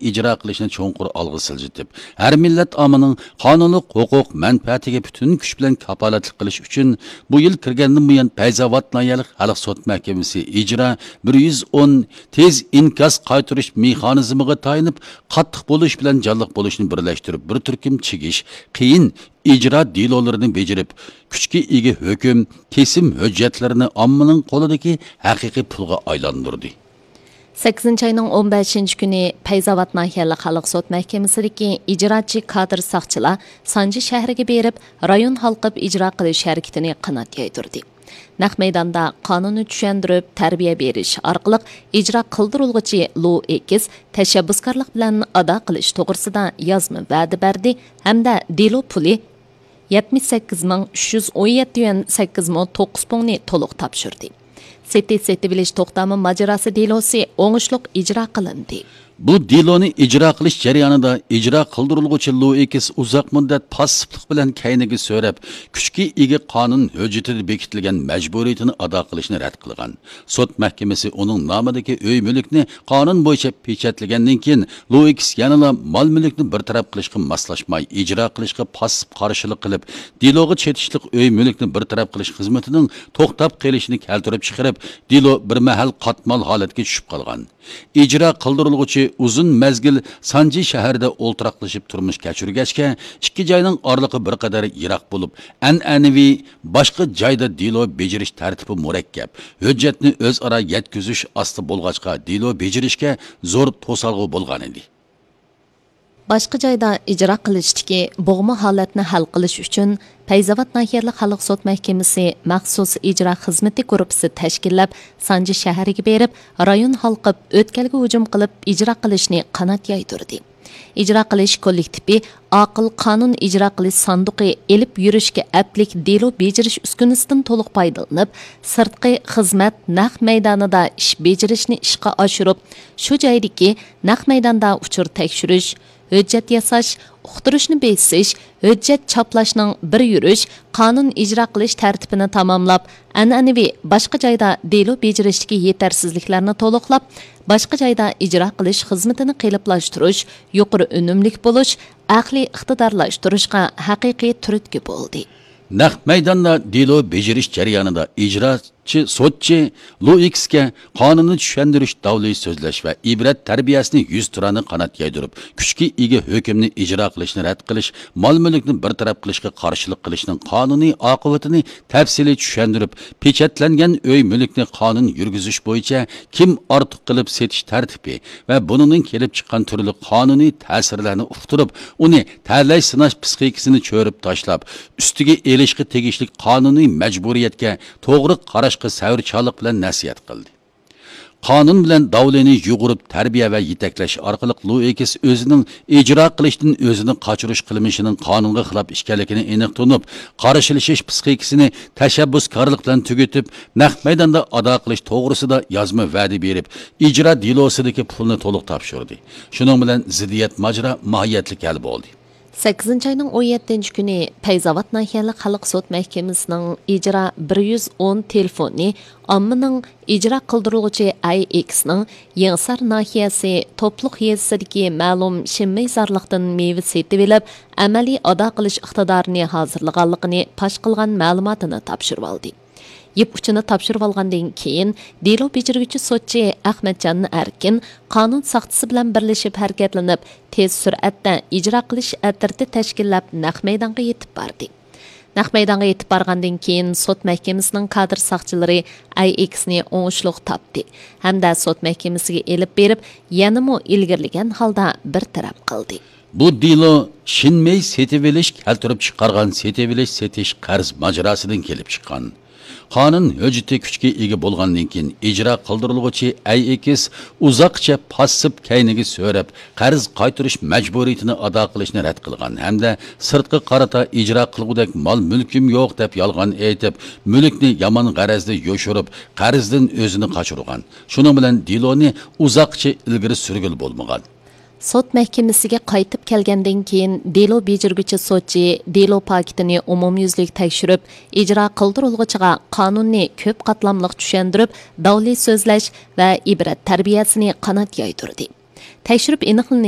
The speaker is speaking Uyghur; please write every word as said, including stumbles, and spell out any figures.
ئىجرا قىلىشنى چوڭقۇر ئالغا سىلجىتىپ، ھەر مىللەت ئاممىنىڭ قانۇنلۇق ھوقۇق مەنپەئەتىگە پۈتۈن كۈچ بىلەن كاپالەتلىك قىلىش ئۈچۈن، بۇ يىل كىرگەندىن بۇيان پەيزاۋات ناھىيەلىك خەلق سوت مەھكىمىسى ئىجرا بىر يۈز ئون تېز ئىنكاس قايتۇرۇش مېخانىزمىغا تايىنىپ، قاتتىق بولۇش بىلەن جانلىق بولۇشنى بىرلەشتۈرۈپ، بىر تۈركۈم چىگىش، قىيىن ئىجرا دېلولىرىنى بېجىرىپ، كۈچكە ئىگە ھۆكۈم، كېسىم ھۆججەتلىرىنى ئاممىنىڭ قولىدىكى ھەقىقىي پۇلغا ئايلاندۇردى. سەككىزىنچى ئاينىڭ ئون بەشىنچى كۈنى پەيزاۋات ناھىيەلىك خەلق سوت مەھكىمىسىدىكى ئىجراچى كادىر ساقچىلار سانجى شەھىرىگە بېرىپ، رايون ھالقىپ ئىجرا قىلىش ھەرىكىتىنى قانات يايدۇردى. نەق مەيداندا قانۇننى چۈشەندۈرۈپ، تەربىيە بېرىش ئارقىلىق ئىجرا قىلدۇرۇلغۇچى لۇ ئېكس تەشەببۇسكارلىق بىلەن ئادا قىلىش توغرىسىدا يازما ۋەدە بەردى ھەمدە دېلو پۇلى يەتمىش سەككىز مىڭ ئۈچ يۈز ئون يەتتە يۈەن سەككىز مو توققۇز پۇڭنى تولۇق تاپشۇردى. سېتىش سېتىۋېلىش توختامى ماجىراسى دېلوسى ئوڭۇشلۇق ئىجرا قىلىندى. بۇ دېلونى ئىجرا قىلىش جەريانىدا ئىجرا قىلدۇرۇلغۇچى لۇئىكس ئۇزاق مۇددەت پاسسىپلىق بىلەن كەينىگە سۆرەپ، كۈچكە ئىگە قانۇن ھۆججىتىدە بېكىتىلگەن مەجبۇرىيىتىنى ئادا قىلىشنى رەت قىلغان. سوت مەھكىمىسى ئۇنىڭ نامىدىكى ئۆي مۈلۈكنى قانۇن بويىچە پېچەتلىگەندىن كېيىن، لۇئىكس يەنىلا مال مۈلۈكنى بىر تەرەپ قىلىشقا ماسلاشماي، ئىجرا قىلىشقا پاسسىپ قارشىلىق قىلىپ، دېلوغا چېتىشلىق ئۆي مۈلۈكنى بىر تەرەپ قىلىش خىزمىتىنىڭ توختاپ قېلىشىنى كەلتۈرۈپ چىقىرىپ، دېلو بىر مەھەل قاتمال ھالەتكە چۈشۈپ قالغان. ئىجرا قىلدۇرۇلغۇچى ئۇزۇن مەزگىل سانجى شەھىرىدە ئولتۇراقلىشىپ تۇرمۇش كەچۈرگەچكە، ئىككى جاينىڭ ئارىلىقى بىر قەدەر يىراق بولۇپ، ئەنئەنىۋى باشقا جايدا دېلو بېجىرىش تەرتىپى مۇرەككەپ، ھۆججەتنى ئۆزئارا يەتكۈزۈش ئاستا بولغاچقا، دېلو بېجىرىشكە زور توسالغۇ بولغانىدى. باشقا جايدا ئىجرا قىلىشتىكى بوغما ھالەتنى ھەل قىلىش ئۈچۈن، پەيزاۋات ناھىيەلىك خەلق سوت مەھكىمىسى مەخسۇس ئىجرا خىزمىتى گۇرۇپپىسى تەشكىللەپ، سانجى شەھىرىگە بېرىپ، رايون ھالقىپ ئۆتكەلگە ھۇجۇم قىلىپ ئىجرا قىلىشنى قانات يايدۇردى. ئىجرا قىلىش كوللېكتىپى ئاقىل قانۇن ئىجرا قىلىش ساندۇقى ئېلىپ يۈرۈشكە ئەپلىك دېلو بېجىرىش ئۈسكۈنىسىدىن تولۇق پايدىلىنىپ، سىرتقى خىزمەت نەق مەيدانىدا ئىش بېجىرىشنى ئىشقا ئاشۇرۇپ، شۇ جايدىكى نەق مەيداندا ئۇچۇر تەكشۈرۈش، ھۆججەت ياساش، ئۇقتۇرۇشنى بېسىش، ھۆججەت چاپلاشنىڭ بىر يۈرۈش قانۇن ئىجرا قىلىش تەرتىپىنى تاماملاپ، ئەنئەنىۋى باشقا جايدا دېلو بېجىرىشتىكى يېتەرسىزلىكلەرنى تولۇقلاپ، باشقا جايدا ئىجرا قىلىش خىزمىتىنى قېلىپلاشتۇرۇش، يۇقىرى ئۈنۈملۈك بولۇش، ئەقلىي ئىقتىدارلاشتۇرۇشقا ھەقىقىي تۈرتكە بولدى. نەق مەيداندا دېلو بېجىرىش جەريانىدا ئىجرا چى سوتچى لۇئىكسكە قانۇننى چۈشەندۈرۈش، داۋلى سۆزلەش ۋە ئىبرەت تەربىيەسىنى يۈزتۇرانە قانات يايدۇرۇپ، كۈچكە ئىگە ھۆكۈمنى ئىجرا قىلىشنى رەت قىلىش، مال مۈلۈكنى بىر تەرەپ قىلىشقا قارشىلىق قىلىشنىڭ قانۇنىي ئاقىۋىتىنى تەپسىلىي چۈشەندۈرۈپ، پېچەتلەنگەن ئۆي مۈلۈكنى قانۇن يۈرگۈزۈش بويىچە كىم ئارتۇق قىلىپ سېتىش تەرتىپى ۋە بۇنىڭدىن كېلىپ چىققان تۈرلۈك قانۇنىي تەسىرلەرنى ئۇقتۇرۇپ، ئۇنى تەلەي سىناش پىسخىكىسىنى چۆرۈپ تاشلاپ، ئۈستىگە ئېلىشقا تېگىشلىك قانۇنىي مەجبۇرىيەتكە توغرا قاراشقا سەۋرچانلىق بىلەن نەسىھەت قىلدى. قانۇن بىلەن داۋلىنى يۇغۇرۇپ تەربىيە ۋە يېتەكلەش ئارقىلىق لۇئىكس ئۆزىنىڭ ئىجرا قىلىشتىن ئۆزىنى قاچۇرۇش قىلمىشىنىڭ قانۇنغا خىلاپ ئىكەنلىكىنى ئېنىق تونۇپ، قارشىلىشىش پىسخىكىسىنى تەشەببۇسكارلىق بىلەن تۈگىتىپ، نەق مەيداندا ئادا قىلىش توغرىسىدا يازما ۋەدە بېرىپ، ئىجرا دېلوسىدىكى پۇلنى تولۇق تاپشۇردى. شۇنىڭ بىلەن زىددىيەت ماجىرا ماھىيەتلىك ھەل بولدى. سەككىزىنچى ئاينىڭ ئون يەتتىنچى كۈنى پەيزاۋات ناھىيەلىك خەلق سوت مەھكىمىسىنىڭ ئىجرا بىر يۈز ئون تېلېفونى ئاممىنىڭ ئىجرا قىلدۇرۇلغۇچى ئەي ئېكسنىڭ يېڭىسار ناھىيەسى توپلۇق يېزىسىدىكى مەلۇم شىنمەي زارلىقتىن مېۋە سېتىۋېلىپ، ئەمەلىي ئادا قىلىش ئىقتىدارىنى ھازىرلىغانلىقىنى پاش قىلغان مەلۇماتىنى تاپشۇرۇۋالدى. يىپ ئۇچىنى تاپشۇرۇۋالغاندىن كېيىن، دېلو بېجىرگۈچى سوتچى ئەخمەتجان ئەركىن قانۇن ساقچىسى بىلەن بىرلىشىپ ھەرىكەتلىنىپ، تېز سۈرئەتتە ئىجرا قىلىش ئەترىتى تەشكىللەپ، نەق مەيدانغا يېتىپ باردى. نەق مەيدانغا يېتىپ بارغاندىن كېيىن، سوت مەھكىمىسىنىڭ كادىر ساقچىلىرى ئەي ئېكسنى ئوڭۇشلۇق تاپتى ھەمدە سوت مەھكىمىسىگە ئېلىپ بېرىپ، يەنىمۇ ئىلگىرىلىگەن ھالدا بىر تەرەپ قىلدى. بۇ دېلو شىنمەي سېتىۋېلىش كەلتۈرۈپ چىقارغان سېتىۋېلىش سېتىش قەرز ماجىراسىدىن كېلىپ چىققان. قانۇن ھۆججىتى كۈچكە ئىگە بولغاندىن كېيىن، ئىجرا قىلدۇرۇلغۇچى ئەي ئېكس ئۇزاققىچە پاسسىپ كەينىگە سۆرەپ، قەرز قايتۇرۇش مەجبۇرىيىتىنى ئادا قىلىشنى رەت قىلغان ھەمدە سىرتقا قارىتا ئىجرا قىلغۇدەك مال مۈلكۈم يوق دەپ يالغان ئېيتىپ، مۈلۈكنى يامان غەرەزدە يوشۇرۇپ، قەرزدىن ئۆزىنى قاچۇرغان. شۇنىڭ بىلەن دېلونى ئۇزاققىچە ئىلگىرى سۈرگىلى بولمىغان. سوت مەھكىمىسىگە قايتىپ كەلگەندىن كېيىن، دېلو بېجىرگۈچى سوتچى دېلو پاكىتىنى ئومۇميۈزلۈك تەكشۈرۈپ، ئىجرا قىلدۇرۇلغۇچىغا قانۇننى كۆپ قاتلاملىق چۈشەندۈرۈپ، داۋلى سۆزلەش ۋە ئىبرەت تەربىيەسىنى قانات يايدۇردى. تەكشۈرۈپ ئېنىقلىنىشىچە،